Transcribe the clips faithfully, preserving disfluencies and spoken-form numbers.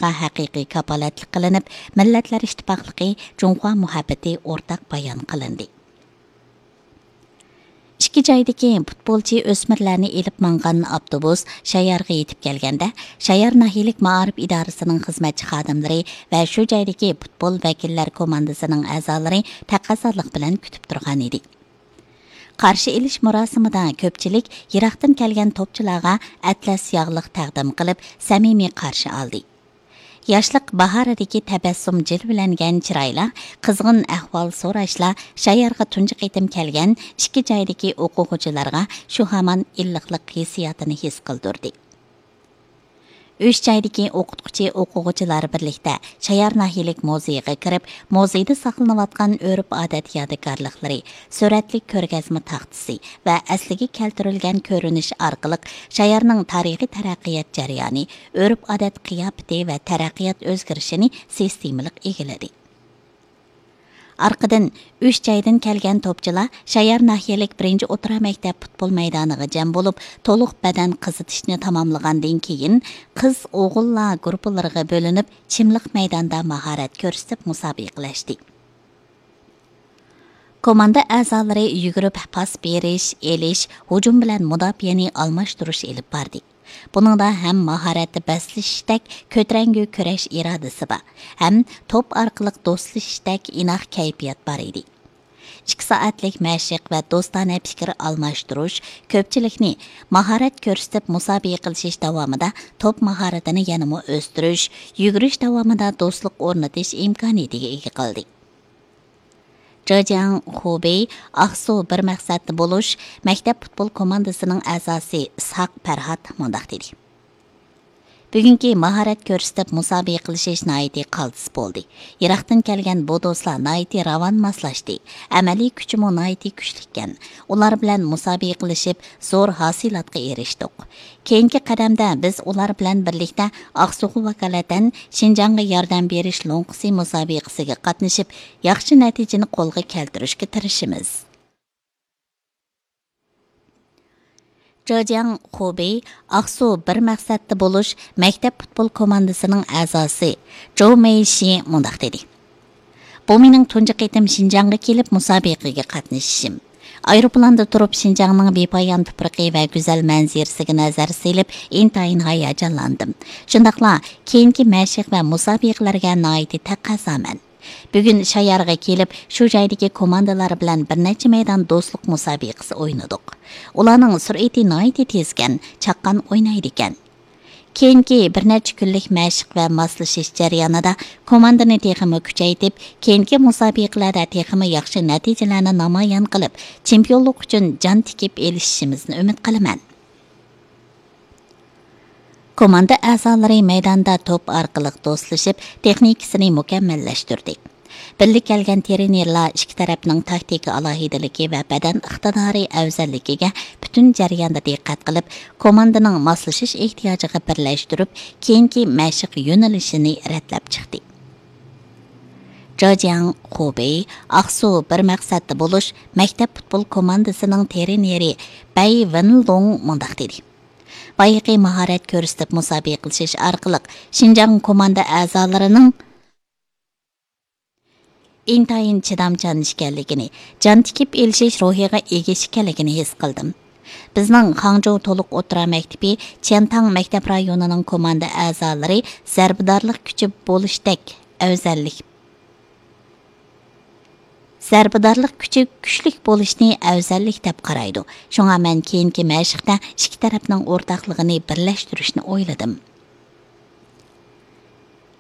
ھەقىقىي كاپالەتلىك قىلىنىپ، مىللەتلەر ئىتتىپاقلىقى، جۇڭخۇا مۇھەببىتى ئورتاق بايان قىلىندى. ئىككى جايدىكى پۇتبولچى ئۆسمۈرلەرنى ئېلىپ ماڭغان ئاپتوبۇس شايارغا يېتىپ كەلگەندە، شايار ناھىيەلىك مائارىپ ئىدارىسىنىڭ خىزمەتچى خادىملىرى ۋە شۇ جايدىكى پۇتبول ۋەكىللەر كوماندىسىنىڭ ئەزالىرى تەقەززالىق بىلەن كۈتۈپ تۇرغان ئىدى. قارشى ئېلىش مۇراسىمىدا كۆپچىلىك يىراقتىن كەلگەن توپچىلارغا ئەتلەس ياغلىق تەقدىم قىلىپ، سەمىمىي قارشى ئالدى. ياشلىق باھارىدىكى تەبەسسۇم جىلۋىلەنگەن چىرايلار، قىزغىن ئەھۋال سوراشلار شايارغا تۇنجى قېتىم كەلگەن ئىككى جايدىكى ئوقۇغۇچىلارغا شۇ ھامان ئىللىقلىق ھېسسىياتىنى ھېس قىلدۇردى. ئۈچ جايدىكى ئوقۇتقۇچى ئوقۇغۇچىلار بىرلىكتە شايار ناھىيەلىك مۇزېيغا كىرىپ، مۇزېيدا ساقلىنىۋاتقان ئۆرپ-ئادەت يادىكارلىقلىرى، سۈرەتلىك كۆرگەزمە تاختىسى ۋە ئەسلىگە كەلتۈرۈلگەن كۆرۈنۈش ئارقىلىق شايارنىڭ تارىخىي تەرەققىيات جەريانى، ئۆرپ-ئادەت قىياپىتى ۋە تەرەققىيات ئۆزگىرىشىنى سىستېمىلىق ئىگىلىدى. ئارقىدىن ئۈچ جايدىن كەلگەن توپچىلار شايار ناھىيەلىك بىرىنچى ئوتتۇرا مەكتەپ پۇتبول مەيدانىغا جەم بولۇپ، تولۇق بەدەن قىزىتىشنى تاماملىغاندىن كېيىن، قىز-ئوغۇللار گۇرۇپپىلىرىغا بۆلۈنۈپ، چىملىق مەيداندا ماھارەت كۆرسىتىپ مۇسابىقىلەشتى. كوماندا ئەزالىرى يۈگۈرۈپ پاس بېرىش، ئېلىش، ھۇجۇم بىلەن مۇداپىئەنى ئالماشتۇرۇش ئېلىپ باردى. بۇنىڭدا ھەم ماھارەتتە بەسلىشىشتەك كۆتۈرەڭگۈ كۈرەش ئىرادىسى بار، ھەم توپ ئارقىلىق دوستلىشىشتەك ئىناق كەيپىيات بار ئىدى. ئىككى سائەتلىك مەشىق ۋە دوستانە پىكىر ئالماشتۇرۇش كۆپچىلىكنى ماھارەت كۆرسىتىپ مۇسابىقىلىشىش داۋامىدا توپ ماھارىتىنى يەنىمۇ ئۆستۈرۈش، يۈگۈرۈش داۋامىدا دوستلۇق ئورنىتىش ئىمكانىيىتىگە ئىگە قىلدى. جېجياڭ خۇبېي ئاقسۇ بىر مەقسەتتە بولۇش مەكتەپ پۇتبول كوماندىسىنىڭ ئەزاسى ئىسھاق پەرھات مۇنداق دېدى: بۈگۈنكى ماھارەت كۆرسىتىپ مۇسابىقىلىشىش ناھايىتى قالتىس بولدى. يىراقتىن كەلگەن بۇ دوستلار ناھايىتى راۋان ماسلاشتى. ئەمەلىي كۈچىمۇ ناھايىتى كۈچلۈككەن. ئۇلار بىلەن مۇسابىقىلىشىپ، زور ھاسىلاتقا ئېرىشتۇق. كېيىنكى قەدەمدە بىز ئۇلار بىلەن بىرلىكتە ئاقسۇغا ۋاكالىتەن شىنجاڭغا ياردەم بېرىش لوڭقىسى مۇسابىقىسىگە قاتنىشىپ، ياخشى نەتىجىنى قولغا كەلتۈرۈشكە تىرىشىمىز. جېجياڭ خۇبېي ئاقسۇ بىر مەقسەتتە بولۇش مەكتەپ پۇتبول كوماندىسىنىڭ ئەزاسى جو مېيشى مۇنداق دېدى: بۇ مېنىڭ تۇنجى قېتىم شىنجاڭغا كېلىپ مۇسابىقىگە قاتنىشىشىم. ئايروپىلاندا تۇرۇپ شىنجاڭنىڭ بىپايان تۇپرىقى ۋە گۈزەل مەنزىرىسىگە نەزەر سېلىپ، ئىنتايىن ھاياجانلاندىم. شۇنداقلا كېيىنكى مەشىق ۋە مۇسابىقىلەرگە ناھايىتى تەقەززامەن. بۈگۈن شايارغا كېلىپ، شۇ جايدىكى كوماندىلار بىلەن بىر نەچچە مەيدان دوستلۇق مۇسابىقىسى ئوينىدۇق. ئۇلارنىڭ سۈرئىتى ناھايىتى تېزكەن، چاققان ئوينايدىكەن. كېيىنكى بىر نەچچە كۈنلۈك مەشىق ۋە ماسلىشىش جەريانىدا كوماندىنى تېخىمۇ كۈچەيتىپ، كېيىنكى مۇسابىقىلەردە تېخىمۇ ياخشى نەتىجىلەرنى نامايان قىلىپ، چېمپىيونلۇق ئۈچۈن جان تىكىپ ئېلىشىشىمىزنى ئۈمىد قىلىمەن. كوماندا ئەزالىرى مەيداندا توپ ئارقىلىق دوستلىشىپ، تېخنىكىسىنى مۇكەممەللەشتۈردى. بىللە كەلگەن ترېنېرلار ئىككى تەرەپنىڭ تاكتىكا ئالاھىدىلىكى ۋە بەدەن ئىقتىدارى ئەۋزەللىكىگە پۈتۈن جەرياندا دىققەت قىلىپ، كوماندىنىڭ ماسلىشىش ئېھتىياجىغا بىرلەشتۈرۈپ، كېيىنكى مەشىق يۆنىلىشىنى رەتلەپ چىقتى. جېجياڭ خۇبېي ئاقسۇ بىر مەقسەتتە بولۇش مەكتەپ پۇتبول كوماندىسىنىڭ ترېنېرى بەي ۋېنلۇڭ مۇنداق دېدى: بايىقى ماھارەت كۆرسىتىپ مۇسابىقىلىشىش ئارقىلىق شىنجاڭ كوماندا ئەزالىرىنىڭ ئىنتايىن چىدامچان ئىكەنلىكىنى، جان تىكىپ ئېلىشىش روھىغا ئىگە ئىكەنلىكىنى ھېس قىلدىم. بىزنىڭ خاڭجۇ تولۇق ئوتتۇرا مەكتىپى چيەنتاڭ مەكتەپ رايونىنىڭ كوماندا ئەزالىرى زەربىدارلىق كۈچى بولۇشتەك ئەۋزەللىك، زەربىدارلىق كۈچى كۈچلۈك بولۇشنى ئەۋزەللىك دەپ قارايدۇ. شۇڭا مەن كېيىنكى مەشىقتە ئىككى تەرەپنىڭ ئورتاقلىقىنى بىرلەشتۈرۈشنى ئويلىدىم.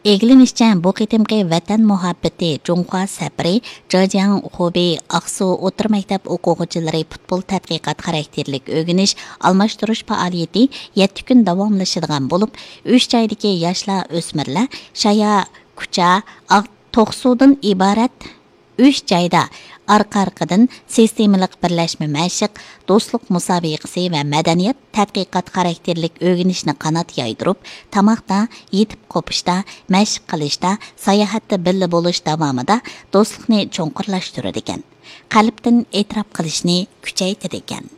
ئىگىلىنىشىچە، بۇ قېتىمقى ۋەتەن مۇھەببىتى جۇڭخۇا سەپىرى جېجياڭ خۇبېي ئاقسۇ ئوتتۇرا مەكتەپ ئوقۇغۇچىلىرى پۇتبول تەتقىقات خاراكتېرلىك ئۆگىنىش، ئالماشتۇرۇش پائالىيىتى يەتتە كۈن داۋاملىشىدىغان بولۇپ، ئۈچ جايدىكى ياشلار، ئۆسمۈرلەر شايا، كۇچا، ئاق توقسۇدىن ئىبارەت ئۈچ جايدا ئارقا-ئارقىدىن سىستېمىلىق بىرلەشمە مەشىق، دوستلۇق مۇسابىقىسى ۋە مەدەنىيەت تەتقىقات خاراكتېرلىك ئۆگىنىشنى قانات يايدۇرۇپ، تاماقتا، يېتىپ قوپۇشتا، مەشىق قىلىشتا، ساياھەتتە بىللە بولۇش داۋامىدا دوستلۇقنى چوڭقۇرلاشتۇرىدىكەن، قەلبتىن ئېتىراپ قىلىشنى كۈچەيتىدىكەن.